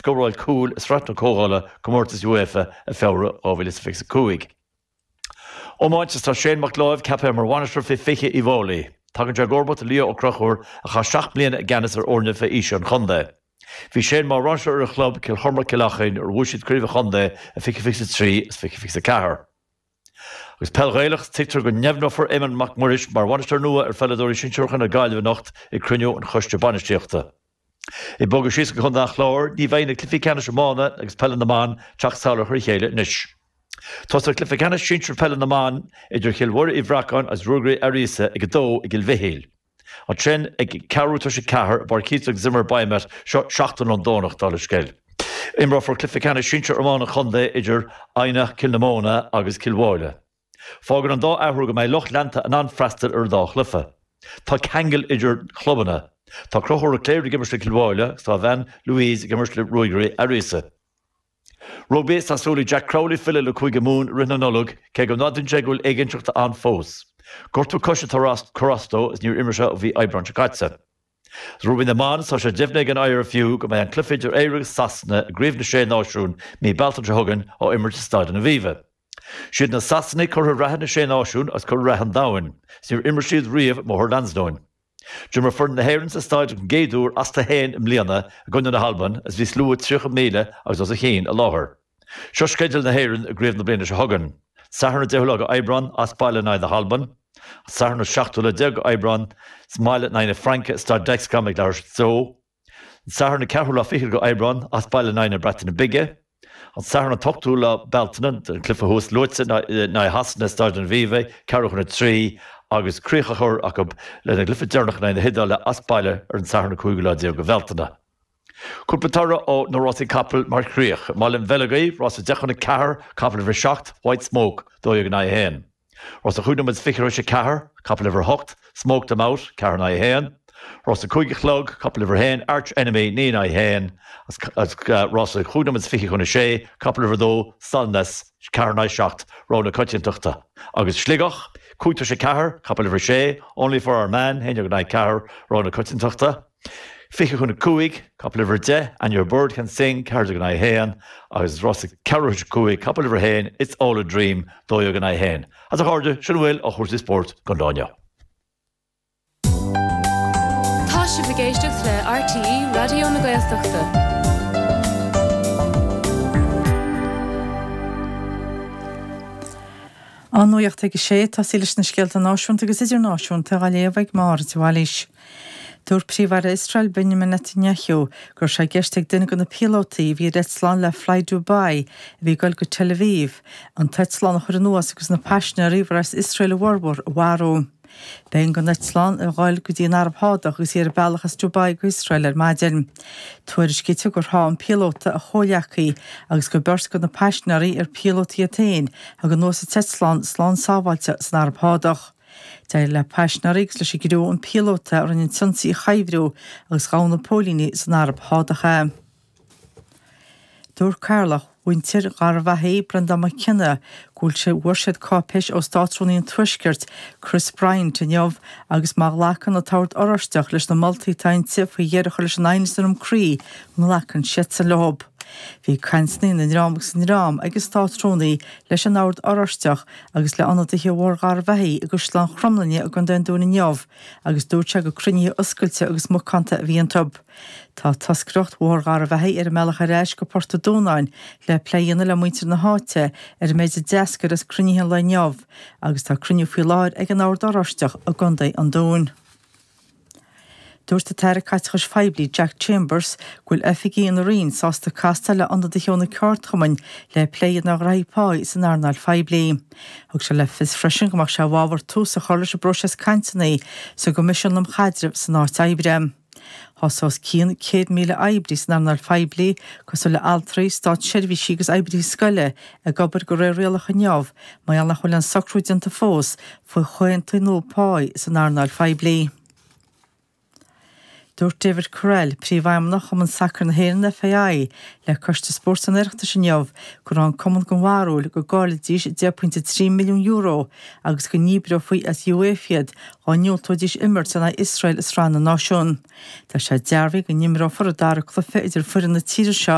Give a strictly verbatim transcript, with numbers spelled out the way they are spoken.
Scóráil cúl i Sraith na Comhdhála Comórtas UEFA i Feabhra dhá mhíle is fiche a cúig. Iomáint tá Shane Mac Láimh ceaptha mar bhainisteoir fé fiche Uíbh Fhailí. Tagann sé i gcomharbacht ar Leo Ó Conchúir a chaith seacht mbliana i gceannas ar fhoirne fé aois an chontae. Bhí Shane mar bhainisteoir ar a chlub Cill Chormaic Cill Achainn ar bhuaigh siad craobh an chontae i fiche fiche a trí is fiche fiche a ceathair. Agus peil Ghaelach, tuigtear go ndeimhneofar Éamonn Mac Muiris mar bhainisteoir nua ar pheileadóirí sinsearacha na Gaillimhe anocht ag cruinniú an choiste bainistíochta. Ag bogadh síos go Contae an Chláir, ní bheidh na cluichí ceannais iomána agus peile na mban teacht sall ar a chéile anois. Tosóidh cluiche ceannais sinsir peile na mban idir Chill Mhuire Uí Bhreacáin agus Ruagairí Fhearghasa ag a dó i gCill Mhichíl. Ansin ag ceathrú tar éis a ceathair i bPáirc Heath Zimmer Biomet seo seachtain ón Domhnach dála an scéil. Imreofar cluiche ceannais sinsir iomána an chontae idir Eidhneach Cill na Móna agus Cill Mháille. Fágann an dá athrú go mbeidh lucht leanta in ann freastal ar an dá chluiche. Tá ceangal idir chlubanna. Tá Conchúr Ó Cléirigh ag imirt le Cill Mháille agus tá a bhean Louise ag imirt le Ruagairí Fhearghasa. Rugbaí Tá súil ag Jack Crowley filleadh le Cúige Mumhan i rith na Nollag, cé go n-admhaíonn sé go bhfuil éiginnteacht ann fós. Gortú coise atá ag cur as dó is níor imir sé ó mhí Aibreáin seo caite. Rugbaí na mban tá sé deimhnithe ag an IRFU go mbeidh an cluiche idir Éire agus Sasana i gCraobh na Sé Náisiún mí Bealtaine seo chugainn á imirt i Staid an Aviva. Siad na Sasanaigh curaidh reatha na Sé Náisiún agus curaidh reatha an domhain, is níor imir siad riamh i mBóthar Lansdowne. D'imir foireann na hÉireann sa staid an gcéad uair astu féin i mbliana i gcoinne na hAlban is bhí slua tríocha míle agus os a chionn i láthair. Seo sceideal na hÉireann i gcraobh na bliana seo chugainn. Satharn an deichiú lá d'Aibreán as baile in aghaidh na hAlban, Satharn an seachtú lá déag d'Aibreán sa mbaile in aghaidh na Fraince i Staid Dexcom ag leathuair tar éis a dó, an Satharn an ceathrú lá fichead d'Aibreán as baile in aghaidh na Breataine Bige, an Satharn an t-ochtú lá Bealtaine an cluiche thuas luaite in aghaidh Shasana i Staid an Aviva ceathrú chun a trí agus críoch a chur acu lena gcluiche deireanach in aghaidh na hIodáile as baile ar an Satharn an cúigiú lá déag de Bhealtaine. Cúpla toradh ó na rásaí capall mar chríoch. I mBaile an Bheilg, rása deich chun a ceathair, capall uimhir a seacht, White Smoke, dó dhéag in aghaidh a haon. Rása chúig nóiméad is fiche tar éis a ceathair, capall uimhir a hocht, Smoke Them Out, ceathair in aghaidh a haon. Rása cúig a chlog, capall uimhir a haon, Arch Enemy, naoi in aghaidh a haon. Agus rása chúig nóiméad is fiche chun a sé, capall uimhir a dó, Solness, ceathair in aghaidh seacht, rogha na coitiantachta. Agus Sligeach, cúig tar éis a ceathair, capall uimhir a sé, Only for Our Man, haon déag in aghaidh ceathair, rogha na coitiantachta. Fiche chun a cúig, capall uimhir a deich, And Your Bird Can Sing, ceathair déag in aghaidh a haon, agus rása ceathrú tar éis a cúig, capall uimhir a haon, It's All a Dream, dó dhéag in aghaidh a haon. Agus a chairde, sin a bhfuil ó chúrsaí spóirt don lá inniu. Tá sibh ag éisteacht le RTÉ Raidió na Gaeltachta. An nuacht ag a sé, tosaí leis na scéalta náisiúnta agus idirnáisiúnta á léamh ag Máire de Bhailís. Dúirt Príomh-Aire Iosrael Benjamin Netanyahu go raibh sé i gceist ag duine de na píolótaí a bhí ar eitleán le Fly Dubai a bhí ag dul go Tel Aviv an t-eitleán a chur anuas agus na paisinéirí, arbh as Iosrael a bhformhór, a mharú. B'éigean don eitleán a dhul go dtí an Araib Shádach agus í ar a bealach as Dubai go hIosrael ar maidin. Tuairiscítear gur sháigh an píolóta a chomhghleacaí agus gur beirt de na paisinéirí, ar píolótaí iad féin, a thug anuas an t-eitleán slán sábháilte san Araib Shádach. D'éirigh le paisinéirí agus leis an gcriú an píolóta a rinne an t-ionsaí a chuibhriú agus ghabh na póilíní san Araib Shádach é. Dúirt Cathaoirleach mhuintir Gharbhachaidh, Breandán Mac Cionnaith, go bhfuil sé bhfuair siad cáipéis ó Státrúnaí an Tuaiscirt, Chris Bryant, inniu agus má ghlacann an tOrd Oráisteach leis na moltaí atá inti faoi dheireadh a chur leis an aighneas i nDroim Crí, go nglacann siadsan leo. Bhí cainteanna ina ndream agus ina ndream ag an Státrúnaí leis an Ord Oráisteach agus le ionadaithe Bhóthar Gharbhachaidh i gCaisleán Chromghlinne i gContae an Dúin inniu agus dúirt sé gur cruinnithe oscailte agus macánta a bhí iontu. Tá toscaireacht Bhóthar Gharbhachaidh ar a mbealach ar ais go Port an Dúnáin le plé a dhéanamh le muintir na háite ar an méid a d'eascair as cruinnithe an lae inniu agus tá cruinniú faoi láthair ag an Ord Oráisteach i gContae an Dúin. Dúirt an tAire Caiteachais Phoiblí Jack Chambers go bhfuil oifigigh ina roinn sásta castáil le ionadaithe ó na ceardchumainn le plé a dhéanamh ar ghraithí páí san earnáil phoiblí. Thug sé le fios freisin go mbeadh sé i bhfabhar tús a chur leis an bpróiseas cainteanna sa gCoimisiún um Chaidreamh san Áit Oibre. Tá os cionn céad míle oibrí san earnáil phoiblí, cosúil le altraí, státseirbhísigh agus oibrithe scoile, ag obair de réir rialacha inniu mar gheall nach bhfuil aon socrú déanta fós faoi chomhaontú nua páí san earnáil phoiblí. Dúirt David Courell, Príomhfheidhmeannach Chumann Sacair na hÉireann, FAI, le Coiste Spóirt an Oireachtais inniu go raibh an cumann den bharúil go gcaillfidís deich pointe trí milliún euro agus go ndíbreofaí as UEFA iad dá ndiúltóidís imirt in aghaidh Iosrael i Sraith na Náisiún. Tá sé dearbhaithe go n-imreofar an dara cluiche idir foireann na tíre seo